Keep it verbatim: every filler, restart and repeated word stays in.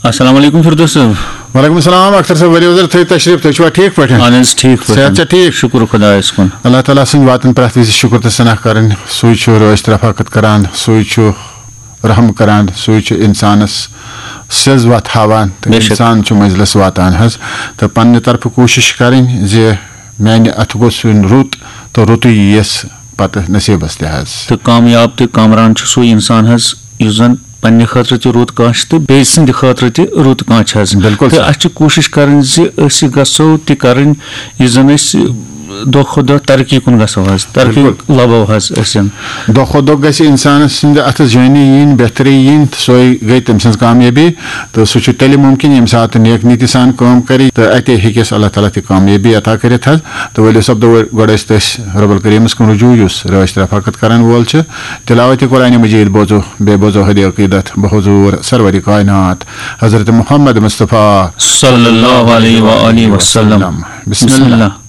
السلام علیکم فردوس صٲب۔ وعلیکم السلام اختر صٲب، ؤلِو حظ تھٲیِو تشریٖف، تُہۍ چھِوا ٹھیٖک پٲٹھۍ؟ اہن حظ، ٹھیٖک پٲٹھۍ۔ صحت چھا ٹھیٖک؟ شُکُر خۄدایَس کُن۔ اللہ تعالیٰ سٕنٛدِ واتَن پرٛٮ۪تھ وِزِ شُکُر تہٕ ثنا کَرٕنۍ، سُے چھُ رٲچھ رفاقت کَران، سُے چھُ رحم کَران، سُے چھُ اِنسانَس سیٚز وَتھ ہاوان تہٕ بے شک۔ اِنسان چھُ منزلَس واتان حظ۔ تہٕ پنٛنہِ طرفہٕ کوٗشِش کَرٕنۍ زِ میٛانہِ اَتھٕ گوٚژھ یُن رُت تہٕ رُتُے یِیَس پَتہٕ نصیٖبَس تہِ حظ۔ تہٕ کامیاب تہٕ کامران چھُ سُے اِنسان حظ، یُس زَن پننہِ خٲطرٕ تہِ رُت کانٛہہ چھُ تہٕ بیٚیہِ سٕنٛدِ خٲطرٕ تہِ رُت کانٛہہ چھُ حظ۔ بِلکُل تہٕ سَر۔ اَسہِ چھِ کوٗشِش کَرٕنۍ زِ أسۍ گژھو تہِ کَرٕنۍ، یہِ زَن أسۍ دۄہ کھۄتہٕ دۄہ ترقی کُن گژھو حظ، ترقی بِلکُل۔ لَبو حظ أسۍ۔ دۄہ کھۄتہٕ دۄہ گژھِ اِنسانَس سٕنٛدِ اَتھٕ زٲنی یِنۍ، بہتری یِنۍ، تہٕ سۄے گٔے تٔمۍ سٕنٛز کامیٲبی۔ تہٕ سُہ چھُ تیٚلہِ مُمکِن، ییٚمہِ ساتہٕ نیک نیتی سان کٲم کَرِ تہٕ اَتے ہیٚکٮ۪س اللہ تعالیٰ تہِ کامیٲبی عطا کٔرِتھ حظ۔ تہٕ ؤلِو سَپدو گۄڈٕ أسۍ تٔسۍ رب الکریٖمَس کُن رجوع، یُس رٲچھ رفاقت کَرَن وول چھُ۔ تلاوت قرآن مجید بوزو، بیٚیہِ بوزو ہدی عقیدت بحضور سرور کائنات حضرت محمد مصطفیٰ صلی اللہ علیہ وآلہ وسلم۔ بسم اللہ۔